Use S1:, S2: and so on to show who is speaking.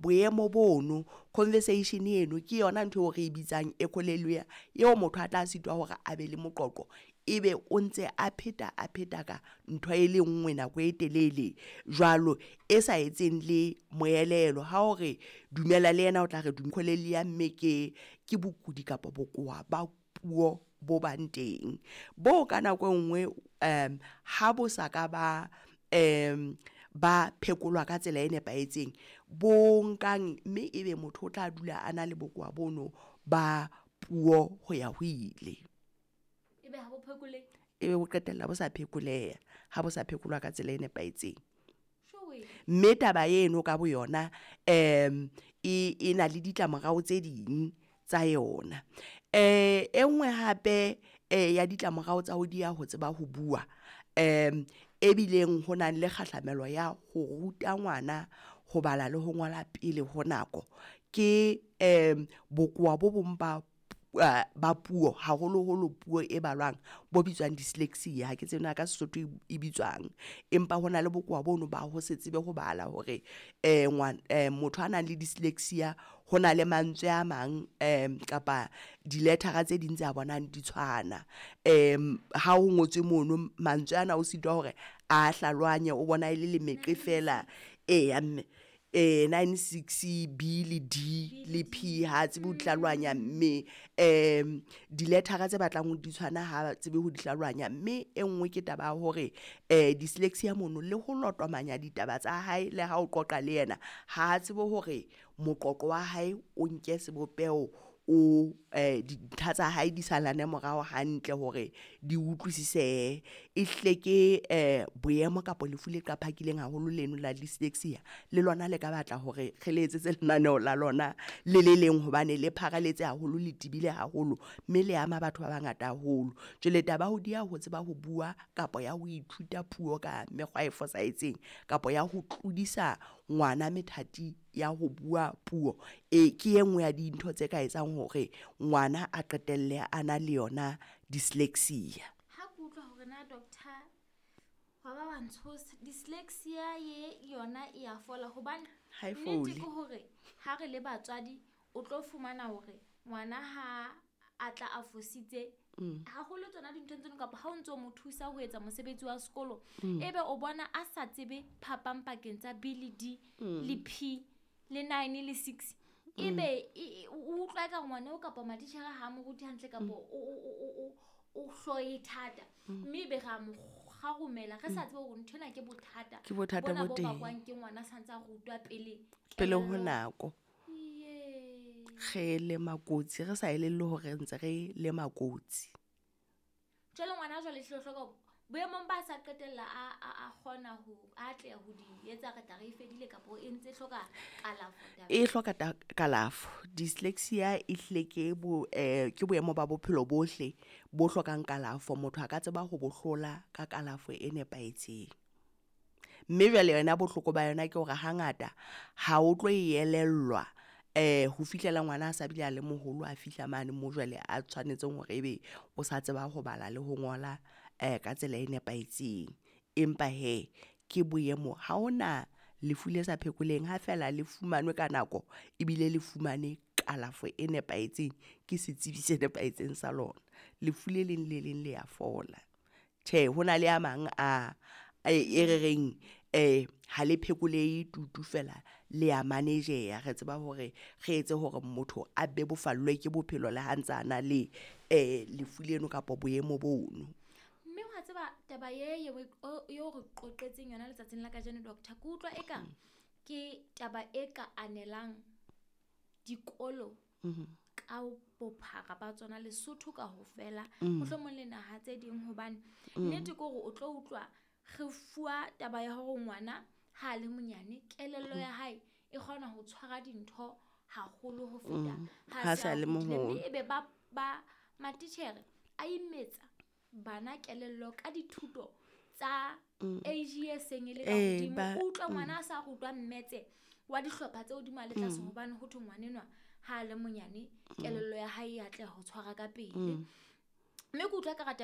S1: Boemo bono, conversation eno ke yona ntho eo re e bitsang echolalia, eo motho a tla sitwa hore a be le moqoqo, ebe o ntse a pheta a pheta ka ntho e le nngwe nako e telele jwalo, e sa etseng le moelelo. Ha o re dumela le yena o tla re echolalia, mme ke bokudi kapa bokowa ba puo bo bang teng, bo ka nako e nngwe ha bo sa ka ba phekolwa ka tsela e nepahetseng, bo nkang mme ebe motho o tla dula a na le bokowa bono ba puo ho ya ho ile.
S2: Ebe ha bo phekolehe?
S1: Ebe bo qetella bo sa phekoleha ha bo sa phekolwa ka tsela e nepahetseng.
S2: Jowe.
S1: Mme taba eno ka boyona e na le ditlamorao tse ding tsa yona. E nngwe hape ya ditlamorao tsa ho dieha ho tseba ho bua, e bileng ho nang le kgahlamelo ya ho ruta ngwana ho bala le ho ngola pele ho nako, ke bokowa bo bong ba puo, haholoholo puo e balwang, bo bitswang dyslexia. Ha ke tsebe na ka Sesotho e bitswang, empa hona le bokowa bono ba ho se tsebe ho bala hore motho a nang le dyslexia ho na le mantswe a mang kapa di-letter-a tse ding tse a bonang di tshwana. Ha ho ngotswe mono mantswe ana o sitwa hore a hlalohanye, o bona e le lemeqe fela. Eya mme 9 6 B le D le P, ha tsebe ho di hlalohanya, mme di-letter-a tse batlang ho di tshwana ha tsebe ho di hlalohanya. Mme e nngwe ke taba ya hore dyslexia mono le ho lotomanya ditaba tsa hae le ha o qoqa le yena, ha tsebe hore moqoqo wa hae o nke sebopeho, o dintlha tsa hae di salane morao hantle hore di utlwisisehe. E hlile ke boemo kapa lefu le qaphakileng haholo leno la dyslexia, le lona le ka batla hore re le etsetse lenaneo la lona le le leng, hobane le pharaletse haholo, le tebile haholo, mme le ama batho ba bangata haholo. Jwale taba ya ho dieha ho tseba ho bua kapa ya ho ithuta puo ka mekgwa e fosahetseng, kapa ya ho tlodisa ngwana methati ya ho bua puo, ke e nngwe ya dintho tse ka etsang hore ngwana a qetelle a na le yona dyslexia.
S2: Ha ke utlwa hore na doctor wa ba wa ntshosa, dyslexia ye yona e ya fola, hobane
S1: Ha e
S2: nnete
S1: fole.
S2: ke hore ha re le batswadi o tlo fumana hore ngwana ha a tla a fositse haholo tsona dinthong tseno, kapa ha o ntso mo thusa ho etsa mosebetsi wa sekolo, ebe o bona a sa tsebe phapang pakeng tsa B le D le P le 9 le 6, ebe o utlwa eka ngwana o kapa matitjhere ha a mo rute hantle, kapa o hloe thata, mme ebe re a mo kgarumela re sa tsebe hore nthwena ke bothata.
S1: Ke bothata
S2: Bona
S1: bo
S2: bo
S1: teng.
S2: bakwang ke ngwana sa ntse a rutwa pele
S1: Pele ho
S2: kelello.
S1: nako.
S2: Iye.
S1: Re lema kotsi, re sa elellwe hore ntse re lema kotsi.
S2: Jwale ngwana jwale ehlile o hloka hore boemong ba sa qetella a kgona ho atleha ho di etsa, re tla re e fedile kapa e ntse e hloka kalafo taba?
S1: E hloka kalafo. Dyslexia e hlile ke boemo ba bophelo bohle bo hlokang kalafo. Motho a ka tseba ho bo hlola ka kalafo e nepahetseng. Mme jwale yona bohloko ba yona ke hore hangata ha o tlo e elellwa ho fihlela ngwana a sa bile a le moholo, a fihla mane mo jwale a tshwanetseng hore ebe o sa tseba ho bala le ho ngola ka tsela e nepahetseng. Empa hee ke boemo, ha hona lefu le sa phekoleheng ha feela le fumanwe ka nako ebile le fumane kalafo e nepahetseng ke setsebi se nepahetseng sa lona. Lefu le leng le leng le ya fola. Tjhe, ho na le a mang a e re reng ha le phekolehe tutu fela, le ya manage-ya. Re tseba hore re etse hore motho a bebofallwe ke bophelo le ha ntsa a na le lefu leno kapa boemo bono.
S2: Mme wa tseba taba ye eo re qoqetseng yona letsatsing la kajeno, doctor, ke utlwa eka ke taba e ka anelang dikolo ka bophara ba tsona Lesotho kaofela, mohlomong le naha tse ding, hobane nnete ke hore o tlo utlwa re fuwa taba ya hore ngwana ha a le monyane kelello ya hae e kgona ho tshwara dintho haholo ho feta ha
S1: Ha
S2: se
S1: sa
S2: a
S1: le
S2: hodile.
S1: moholo.
S2: Mme ebe ba matitjhere a imetsa bana kelello ka dithuto tsa age e seng e le ka hodimo. O utlwa ngwana a sa rutwa mmetse wa dihlopha tse hodimo a le tlase, hobane ho thwe ngwanenwa ha a le monyane kelello ya hae e atleha ho tshwara ka pele. Mme ke utlwa ka taba